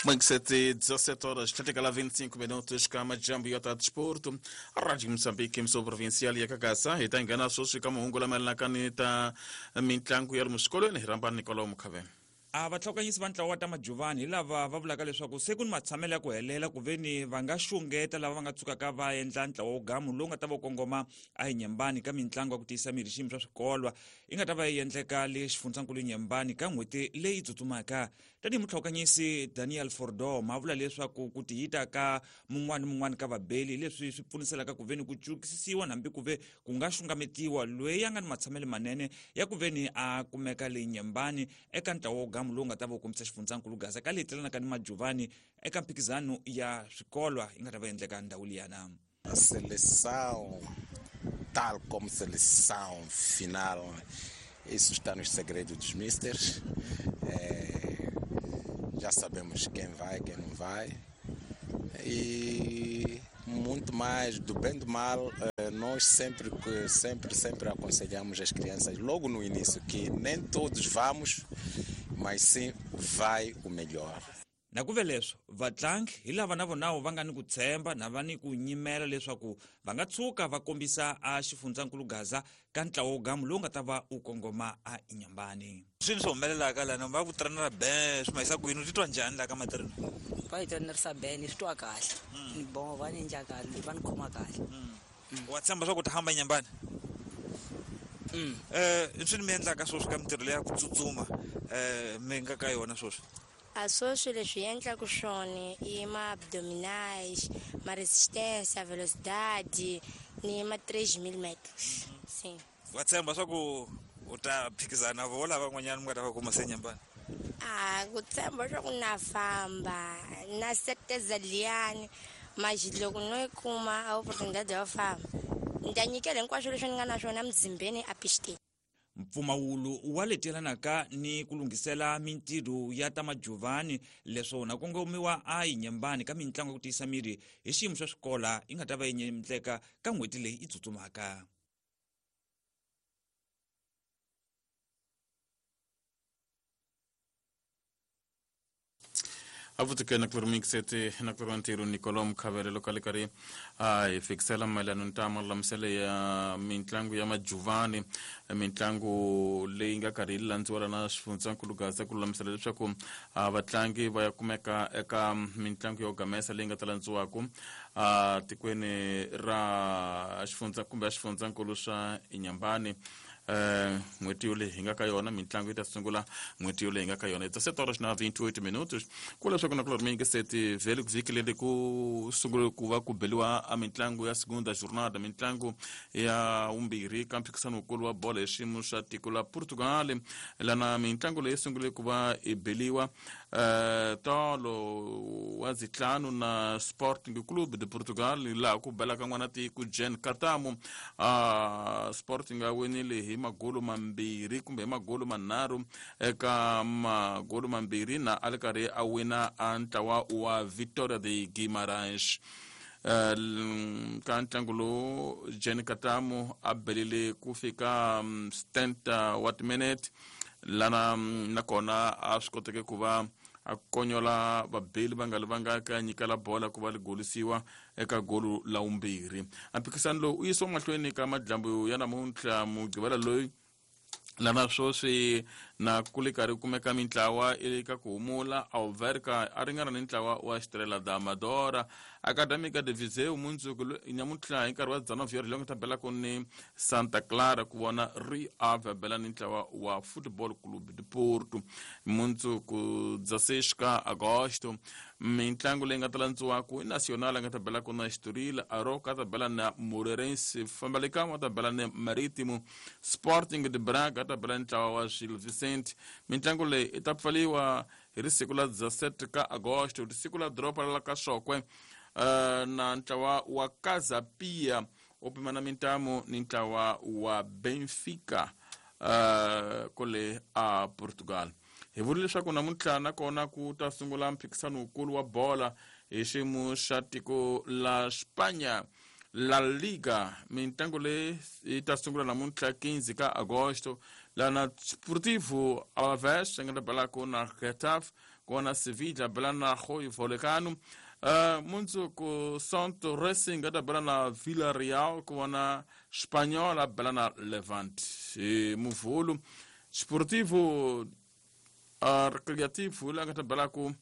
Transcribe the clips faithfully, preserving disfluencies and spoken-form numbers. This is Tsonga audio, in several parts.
Manxete, dezassete horas, trinta e vinte e cinco minutos, kama jambo yota desporto, Rádio Moçambique, emissão provincial ya Kakasa, ita engana sosi kama ungola malakani ta mintlangu ya muskolweni ramba Nicolau Mukave. A vatlhokanyisi va ntlawa wa ta majuvani hi lava va vulaka leswaku se ku ni matshamelo ya ku helela ku veni va nga xungeta lava va nga tsukaka va endla ntlawa wo gamu lowu nga ta va kongoma a Inyembani ka mitlangu ya ku tiyisa miri xiyimo swa swikolwa yi nga ta va yi endleka le xifundzankulu Inyembani ka n'hweti leyi tsutsumaka. Tanihi mutlhokanyisi Daniel Fordom a vula leswaku ku tiyita ka mun'wana ni mun'wana ka vabeli leswi swi pfuniselaka ku veni ku cukisisiwa hambi ku ve ku nga xungametiwa loyi a nga ni matshamelo manene ya ku veni a kumeka le Inyembani eka ntlawa wo gamu lowu nga ta va kombisa xifundzankulu Gaza ka leyi telanaka ni majuvani eka mphikizano ya swikolwa yi nga ta va endleka ndhawu liyana. Seleção tal como seleção final, isso está nos segredos dos misters. É, já sabemos quem vai, quem não vai. E muito mais do bem do mal, nós sempre, sempre, sempre aconselhamos as crianças logo no início que nem todos vamos, mas sim vai o melhor. Na ku ve leswo vatlangi hi lava na vona va nga ni ku tshemba na va ni ku nyimela leswaku va nga tshuka va kombisa a xifundzankulu Gaza ka ntlawa wo gamu lowu nga ta va u kongoma a Inyambani. Swini swi humelelaka lana va ku trenera ben swi mahisa ku yini u titwa njhani laha ka matirhelo? Va yi trenerisa ben ni swi twa kahle ni boho va ni endla kahle va ni khoma kahle. Wa tshemba swa ku ta hamba Inyambani? Eh swini mi endlaka sweswi ka mintirho leya ku tsutsuma eh mi nga ka yona sweswi? A sweswi leswi endlaka swona i ma-abdominais, ma resistência, velocidade ni ma três mil metros. Sim. Wa tshemba swa ku u ta phikizana vo lava van'wanyana mi nga ta va kuma se Inyambani? Ah, ku tshemba swa ku na famba na certeza liyani mas loko no yi kuma a oportunidade yo famba ni ta nyikela hinkwaswo leswi ni nga na swona mzimbeni a pisteni. Mpfumawulo wa letelanaka ni ku lunghisela mintirho ya ta majuvani leswo na kongomiwa a Inyembani ka mitlangu ya ku tiyisa miri hi xiyimo xa swikola yi nga ta va yi endleka ka n'hweti leyi yi tsutsumaka. Avutuke na kurumixete na kurantiro Nicolau Mukavele lokale kari a fixela mayelana ntama lamisele ya mintlangu ya majuvani mintlangu leyi nga karhi yi landziwa na xifundzankulu Gaza ku lulamisela leswaku vatlangi va ya kumeka eka mintlangu yo gamesa leyi nga ta landziwaka a tikweni ra xifundza kumbe xifundzankulu xa Inyambani. Eh n'hweti yoleyi hi nga ka yona mintlangu yi ta sungula n'hweti yoleyi hi nga ka yona dezassete horas na vinte e oito minutos ku leswaku na ku lormingi seti vhele vhiki leri ku sungule ku va ku beliwa a mintlangu ya segunda jornada mintlangu ya vumbirhi ka mphikizano wukulu wa bolo hi xiyimo xa tiko la Portugal lana mintlangu leyi sungule ku va i beliwa eh tolo wa zitlhanu na Sporting Clube de Portugal laha ku belaka n'wana tiko Jean Katamo a Sporting a winile hi magolo mambirhi kumbe hi magolo manharhu eka magolo mambirhi na a ri karhi a wina a ntlawa wa Vitória de Guimarães. Ka ntlangu lowu Jean Katamo a belile ku fika setenta wa timinete lana nakona a swi koteke ku va a konyola vabeli va nga li va nga ka nyikela bola ku va li golisiwa eka golo la vumbirhi. A mphikizano lowu u yisiwa mahlweni ka madyambu ya namuntlha mugqivela loyi lana sweswi na ku le karhi kumeka mintlawa eka ku humula Alverca a ringana ni ntlawa wa Estrela da Amadora Académica de Viseu mundzuku nyamuntlha hi nkarhi wa dezenove horas leyi nga ta belaka ni Santa Clara ku vona Rio Ave bela ni ntlawa wa Futebol Clube de Porto mundzuku dezesseis ka agosto. Mintlangu leyi nga ta landziwaka i Nacional a nga ta belaka na Estoril, Aroca a ta bela na Moreirense, Famalicão a ta bela ni Marítimo, Sporting de Braga a ta bela ni ntlawa wa Gil Vicente. Mintlangu leyi i ta pfaliwa hi risiku la dezassete ka agosto risiku la doroba la ka Xokwe na ntlawa wa Casa Pia u pimana mintamu ni ntlawa wa Benfica uh, kole a Portugal. Hi vula leswaku namuntlha nakona ku ta sungula mphikizano wukulu wa bola hi xiyimo xa tiko la Spanya La Liga mintlangu leyi yi ta sungula namuntlha quinze ka agosto lana Sportivo Alavés nga ta belaku na Getafe kona Sevilla bela na Rayo Vallecano. Uh, mundzuku Santo Racing a ta bela na Villarreal kona Espanhol a bela na Levante. E Muvulu Sportivo uh, Recreativo la nga ta belaku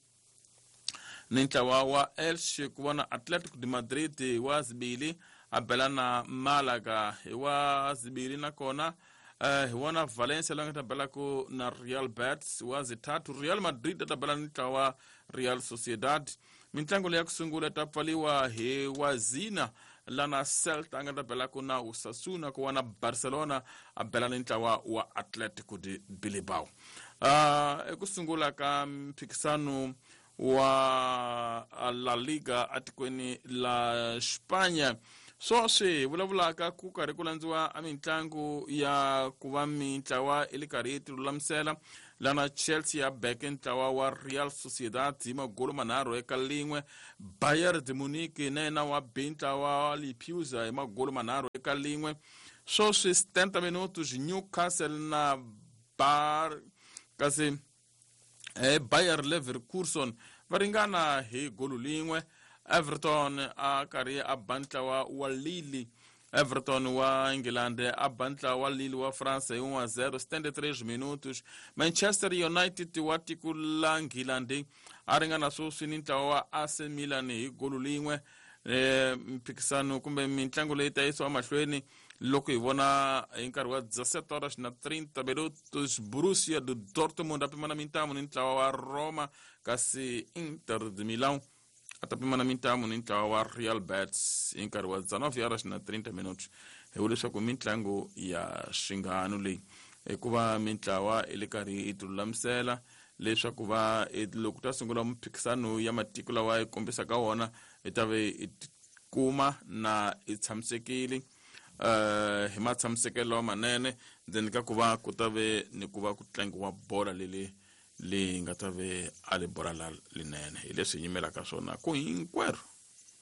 ni ntlawa wa Elche kona Atlético de Madrid wa zibili a bela na Malaga wa zibili nakona uh, hi wona Valencia la nga ta belaku na Real Betis wa zithathu. Real Madrid a ta bela ni ntlawa Real Sociedad. Mintlangu leyi ya ku sungula ta pfaliwa hi wazina lana Celta a nga ta belaku na Osasuna kuwana Barcelona a bela ni ntlawa wa Atlético de Bilbao. Uh, eku sungula ka mphikisano wa La Liga atikweni la Spanya sweswi vulavulaka ku karhi ku landziwa a mintlangu ya ku va mintlawa i le karhi yi tilulamisela lana Chelsea ya beke ntlawa wa Real Sociedad hi magolo manharhu eka lin'we. Bayern de Munich na yena wa be ntlawa wa Leipzig hi magolo manharhu eka lin'we. Sweswi setenta minutos Newcastle na Bar kasi eh, Bayer Leverkusen va ringana hi golo lin'we. Everton a karhi a ba ntlawa wa Lille. Everton wa England a ba ntlawa wa Lille wa France hi one a zero setenta e três minutos. Manchester United wa tiko la England a ringana sweswi ni ntlawa wa A C Milan hi golo lin'we. Eh, mphikisano kumbe mintlangu leyi ta yisiwa mahlweni loko hi vona hi nkarhi wa dezessete horas na trinta minutos Borussia de Dortmund a pimana mintamu ni ntlawa wa Roma kasi Inter de Milão a ta pimana mintamu ni ntlawa wa Real Betis hi nkarhi wa dezenove horas na trinta minutos. Hi vula leswaku mintlangu ya xingano leyi hikuva mintlawa i le karhi yi tilulamisela leswaku va loko ta sungula mphikisano ya matiko lawa yi kombisaka wona hi ta ve hi kuma na i tshamisekile uh, hi matshamisekelo lawa manene then ka ku va ku ta ve ni ku va ku tlangiwa bola leli leyi nga ta ve a li bola la linene hi leswi hi yimelaka swona ku hinkwerhu.